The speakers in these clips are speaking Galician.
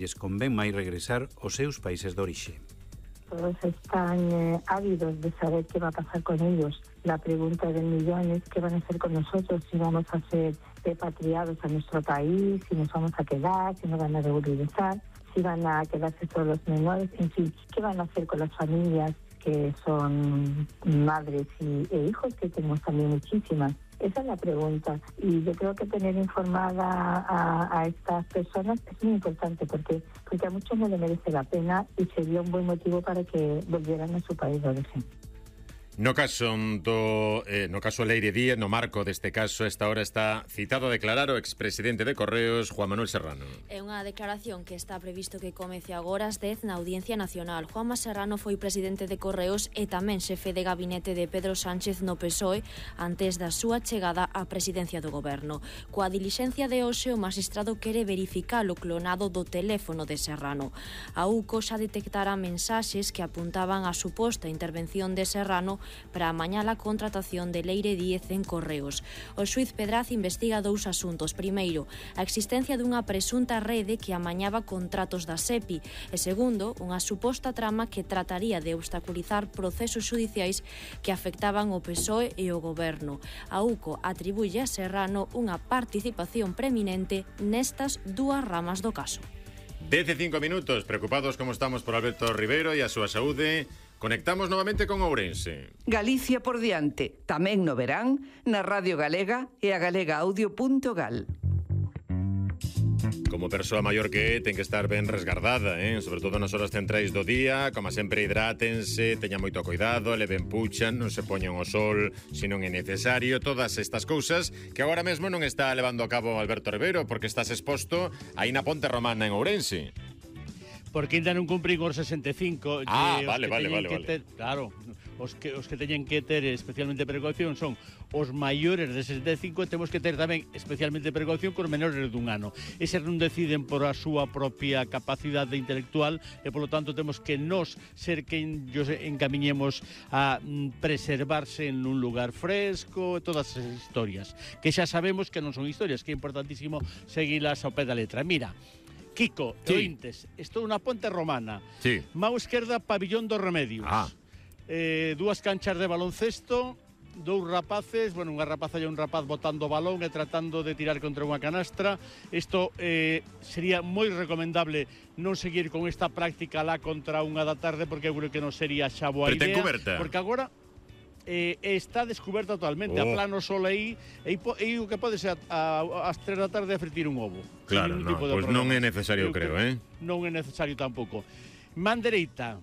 lles convén máis regresar aos seus países de orixe. Todos están ávidos de saber qué va a pasar con ellos. La pregunta del millón es qué van a hacer con nosotros, si vamos a ser repatriados a nuestro país, si nos vamos a quedar, si nos van a regularizar, si van a quedarse todos los menores, en fin, qué van a hacer con las familias que son madres e hijos, que tenemos también muchísimas. Esa es la pregunta, y yo creo que tener informada a estas personas es muy importante porque a muchos no le merece la pena y sería un buen motivo para que volvieran a su país de origen. No caso Leire Díaz, no marco deste caso, esta hora está citado a declarar o expresidente de Correos, Juan Manuel Serrano. É unha declaración que está previsto que comece agora ás 10 na Audiencia Nacional. Juanma Serrano foi presidente de Correos e tamén xefe de gabinete de Pedro Sánchez no PSOE antes da súa chegada á presidencia do goberno. Coa dilixencia de hoxe, o magistrado quere verificar o clonado do teléfono de Serrano. A UCO xa detectara mensaxes que apuntaban á suposta intervención de Serrano para amañar a contratación de Leire Díaz en Correos. O xuiz Pedraz investiga dous asuntos. Primeiro, a existencia dunha presunta rede que amañaba contratos da SEPI e segundo, unha suposta trama que trataría de obstaculizar procesos xudiciais que afectaban o PSOE e o goberno. A UCO atribuye a Serrano unha participación preeminente nestas dúas ramas do caso. 15 minutos, preocupados como estamos por Alberto Ribeiro e a súa saúde. Conectamos novamente con Ourense. Galicia por diante, tamén no verán, na Radio Galega e a galegaaudio.gal. Como persoa maior que ten que estar ben resgardada, sobre todo nas horas centrais do día. Como sempre, hidrátense, teñan moito cuidado, leven puchan, non se poñan ao sol se non é necesario. Todas estas cousas que agora mesmo non está levando a cabo Alberto Ribeiro porque estás exposto aí na Ponte Romana en Ourense. Porque ainda non cumprín os 65. Vale. Claro, os que teñen que ter especialmente precaución son os maiores de 65 e temos que ter tamén especialmente precaución cos menores dun ano. Eses non deciden por a súa propia capacidade intelectual e, polo tanto, temos que nos ser quen os encamiñemos a preservarse en un lugar fresco, todas esas historias, que xa sabemos que non son historias, que é importantísimo seguilas ao pé da letra. Mira, Kiko, sí. Ointes, estou na Ponte Romana. Sí. Mau esquerda, Pabillón dos Remedios. Dúas canchas de baloncesto, dous rapaces, unha rapaza e un rapaz botando balón e tratando de tirar contra unha canastra. Isto sería moi recomendable non seguir con esta práctica lá contra unha da tarde, porque eu creo que non sería xa boa idea. Pero ten coberta. Porque agora está descoberta totalmente, a plano sol aí, e o que pode ser ás 3 da tarde a fritir un ovo. Claro, pois non é necesario, creo, Non é necesario tampouco. Man dereita,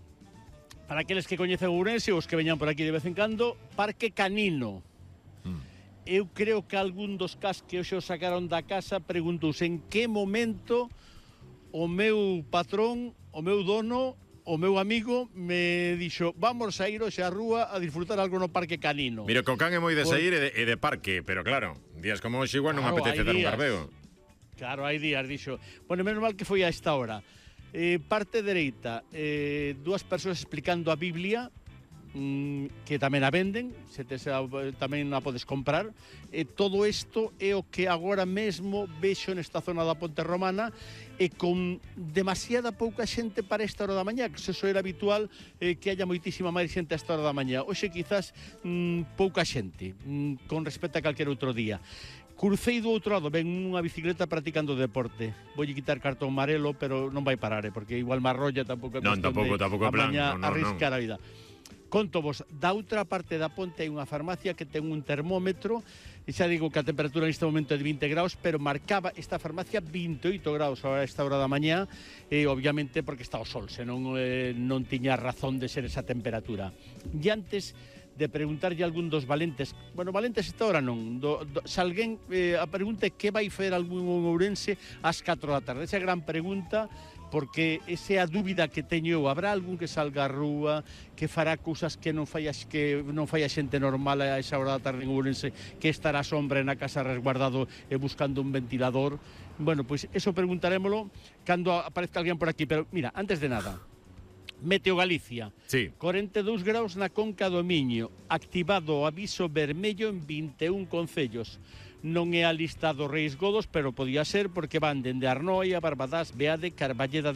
para aqueles que coñecen Ourense, os que veñan por aquí de vez en cando, Parque Canino. Eu creo que algún dos cas que hoxe os sacaron da casa preguntouse en que momento o meu patrón, o meu dono, o meu amigo me dixo vamos a ir hoxe á rúa a disfrutar algo no Parque Canino. Mira, co can é moi de sair e de parque, pero claro, días como hoxe igual non apetece dar un garbeo. Claro, hai días, dixo. Bueno, menos mal que foi a esta hora. Parte dereita, dúas persoas explicando a Biblia, que tamén a venden, tamén a podes comprar. Todo isto é o que agora mesmo vexo nesta zona da Ponte Romana, e con demasiada pouca xente para esta hora da mañá, que eso era habitual que haya moitísima máis xente a esta hora da mañá. Hoxe quizás pouca xente, con respecto a calquer outro día. Crucei do outro lado, ven unha bicicleta practicando deporte. Voulle quitar cartón amarelo, pero non vai parar, porque igual me arrolla, tampouco tampouco plan, arriscar a vida. Conto vos, da outra parte da ponte hai unha farmacia que ten un termómetro, e xa digo que a temperatura neste momento é de 20 graus, pero marcaba esta farmacia 28 graus a esta hora da mañá, e obviamente porque está o sol, senón non tiña razón de ser esa temperatura. E antes de preguntarlle a algún dos valentes, valentes esta hora non, se alguén a pregunta é que vai fer algún ourense ás 4 da tarde, esa gran pregunta, porque esa é a dúbida que teño eu. Habrá algún que salga á rúa, que fará cousas que non fai a xente normal a esa hora da tarde en Ourense, que estará a sombra na casa resguardado e buscando un ventilador? Bueno, pois eso preguntarémolo cando aparezca alguén por aquí. Pero mira, antes de nada, Meteo Galicia, sí. 42 graus na Conca do Miño, activado o aviso vermello en 21 concellos. non é a lista dos Reis Godos, pero podía ser porque van dende Arnoia, Barbadás, Beade, Carballeda